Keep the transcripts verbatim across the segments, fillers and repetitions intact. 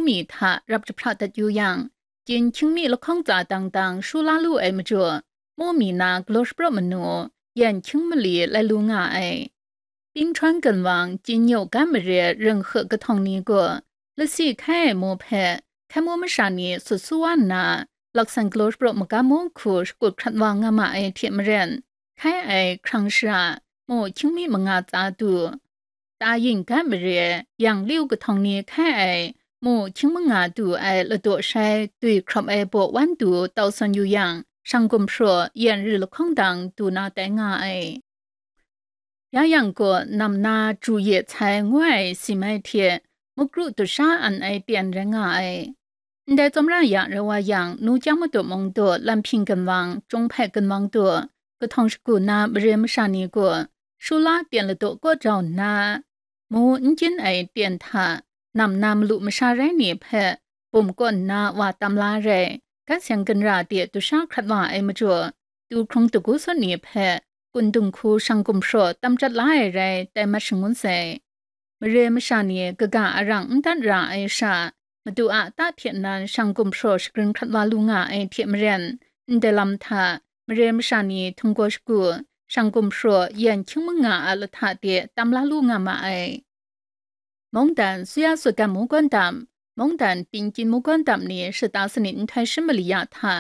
ni hta rap jahpra dat yu yang, Jin hkying mi lahkawng tsa dang dang shula lu ai majaw, mu mi na galaw shapraw manu, yan hkying mali lai lu nga ai. Bingchuan ginwang Jin nyau gan mare ring hku kahtawng ni gaw, lasi hkai ai mu hpe, hkai mu masha ni sut su wa nna, laksan galaw shapraw magam mu hku shakut hkrat wa nga ma ai hte maren, hkai ai hkrang shara, mu hkying mi manga tsa du. Tayin gan mare, yang liu kahtawng ni hkai ai, mu hkying manga du ai ladaw shai dui hkrawp ai baw wan du tau sawn yu yang, shang gumhpraw yan ri lahkawng dang du na tai nga ai. Ya yang gaw nam na ju ye sai ngu ai si mai hte, mukru dusha an ai ten rai nga ai. Ndai tsawmra ya rai wa yang, nu chyang madu mung daw lam hpying ginwang, chyung hpai ginwang daw, kahtawng shagu na mare masha ni gaw, shula ten ladaw kaw jau nna, mu n kyin ai ten hta, nam na malu masha rai ni hpe, bum kaw nna wa tam la rai, gat seng ginra de dusha hkrat wa ai majaw, du hkrung dagu sut ni hpe, kun dung hku shang gumhpraw tam chyat la ai rai, tai mat shangun sai. Mare masha ni kaga arang n dat ra ai sha, madu a ta hte nan shang gumhpraw shagrin hkrat wa lu nga ai hte maren, ndai lam hta, mare masha ni htung gaw shagu, shang gumhpraw yan hkying manga a lahta de tam la lu nga ma ai. Mungdan suya sut gan mu gawn dam, mungdan tingkyin mu gawn dam ni shata sanit nhtoi shim mali ya hta,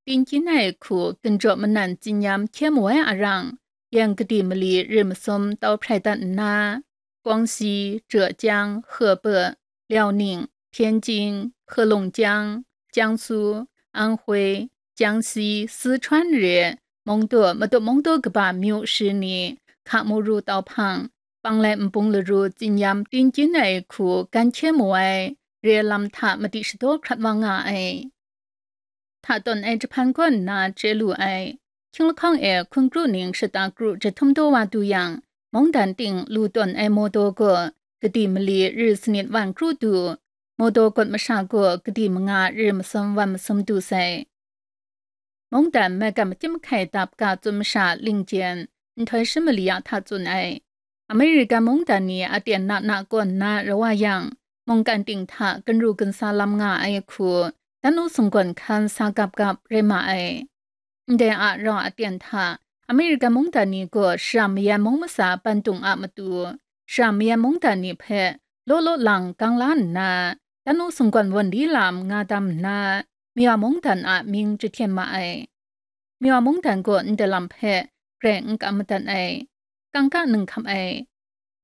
tingkyin ai hku ginjaw manan tsinyam hkye mu ai arang, yan kadi mali ri masum tau hprai dat nna, Guangxi, Zhejiang, Hebei, Liaoning, Tianjin, Heilongjiang, Jiangsu, Anhui, Jiangxi, Sichuan re, mungdaw, madu mungdaw kaba myu shi ni, hka mu ru tau hpang, panglai nbung laru tsinyam tingkyin ai hku gan hkye mu ai, re lam hta madi shadaw hkrat wa nga ai. Hta tawn ai jahpan kaw nna chye lu ai. Hkying lahkawng e hkun kru ning shata kru jahtum daw wa du yang, mungdan ting lu tawn ai mawdaw gaw, kadi mali ri sanit wan kru du, mawdaw gawt masha gaw kadi manga ri masum wan masum du sai. Mungdan maigan makyim hkai dap ga tsun masha lingjen, nhtoi shim mali ya hta tsun ai. Amerika mungdan ni aten na na kaw nna rawa yang, mungkan ting hta ginru ginsa lam nga ai hku, dan nu sunggawn hkan sa gap gap rai ma ai. Ndai a rau aten hta, Amerika mungdan ni gaw shara mayan mung masa bandung a matu, shara mayan mungdan ni hpe law law lang gang la nna, dan nu sunggawn wan di lam nga dam nna, Miwa mungdan a mying jahten ma ai. Miwa mungdan gaw ndai lam hpe grai n kam madat ai, kangka nang hkam ai.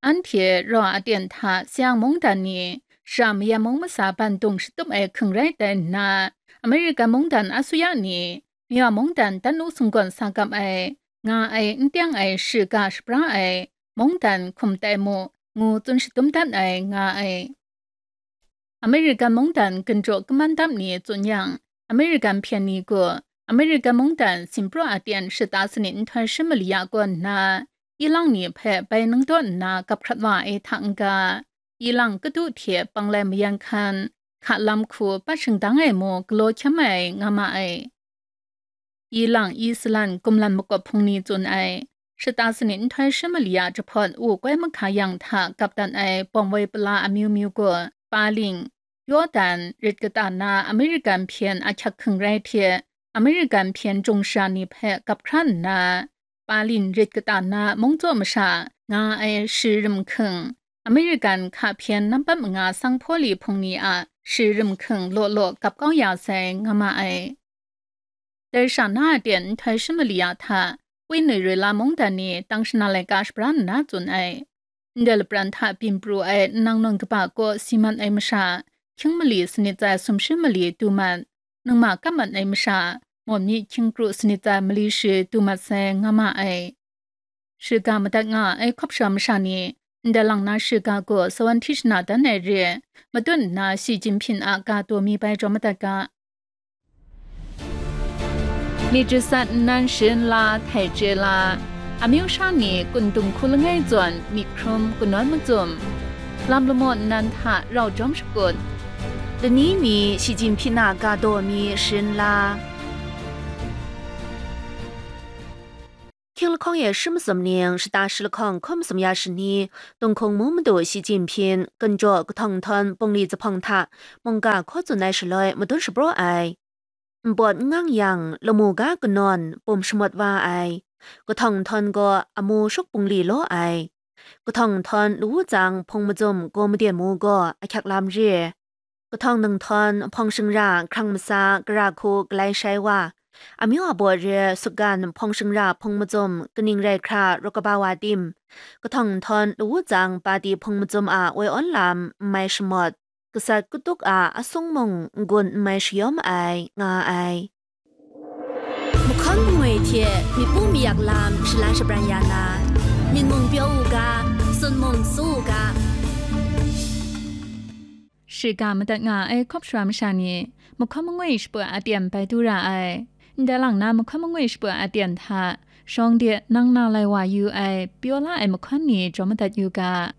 Anhte raw aten hta sayang mungdan ni, shara mayan mung masa bandung shatup ai hking rai tai nna, Amerika mungdan asuya ni, Miwa mungdan dan nu sunggawn sa gap ai, nga ai n teng ai shiga shabra ai, mungdan hkum tai mu, ngu tsun shadum dat ai, nga ai. American mungdan ginjaw kaman dam ni tsun yang, American hpyen ni gaw, American mungdan simpraw aten shata sanit nhtoi shim mali ya kaw nna, ilang ni hpe bai nang daw nna gap hkrat wa ai hta n-ga, ilang kadu hte panglai mayan hkan, hka lam hku pat shingdang ai mu galaw hkyam ai nga ma ai. Ilang Isalan gumlan makawp hpung ni tsun ai, shata sanit nhtoi shim mali ya jahpawt u koi mahka yang hta gap dat ai bawng woi pala amyu myu gaw, Berlin, Jordan, rit kata na American hpyen ahkyak hking rai hte, American hpyen jung sha ni hpe gap hkra nna, Berlin rit kata na mungtsaw masha nga ai shi rim hking, American hka hpyen nampat manga sanghpaw li hpung ni a shi rim hking law law gap kau ya sai nga ma ai. Dai sha na a ten nhtoi shim mali ya hta, Winirila mungdan ni tang shana laika shabra nna tsun ai. Ndai lapran hta byin pru ai nnang nawn kaba kaw si mat ai masha, hkying mali sanit tsai sumshi mali du mat, ningma kap mat ai masha, mawt mi hkying kru sanit tsai mali shi du mat sai nga ma ai. Shiga madat nga ai hkawp sha masha ni, ndai lang na shiga gaw sawan hti shana dan ai re, matut nna Xi Jinping a ga taw mi bai jaw madat ga. Myit jasat nnan sharin la, htai chye la, amyu sha ni kun dung hku langai zawn myit hkrum kanawn macum, lam lamaw nnan hta rau jawm shakut, lani mi Xi Jinping a ga taw mi sharin la. Hkying Hkawng e shi mazum ning shata shi lahkawng hkun mazum ya shani, Tung Hkung Mu Madu Shi Jinpying, Gun Jaw Kahtawng Nhtawm Bungli Zuphpawng hta mungga hkaw tsun ai shaloi madun shapraw ai. Npawt n ngang yang, lamu ga kanawn pum shamawt wa ai. Kahtawng Nhtawm gaw amu shuk bungli law ai. Kahtawng Nhtawm lawu tsang hpung mazum gaw maden mu gaw ahkyak lam re. Kahtawng Nhtawm hpawng shingra hkrang masa gara hku galai shai wa, amyu a baw re sukgan hpawng shingra hpung mazum kaning rai hkra rawk kaba wa tim, Kahtawng Nhtawm lawu tsang pati hpung mazum a woi awn lam n mai shamawt, gasat kutuk a asung mung n-gun n mai shayawm ai, nga ai. Mahkawn mangwi hte myit pu mayak lam shalan shabran ya na, myit mung pyaw u ga, sun mung su u ga. Shiga madat nga ai hkawp shara masha ni, mahkawn mangwi shaput aten bai du ra ai. Ndai lang na mahkawn mangwi shaput aten hta, shawng de nang na lai wa yu ai, pyaw la ai mahkawn ni jaw madat yu ga.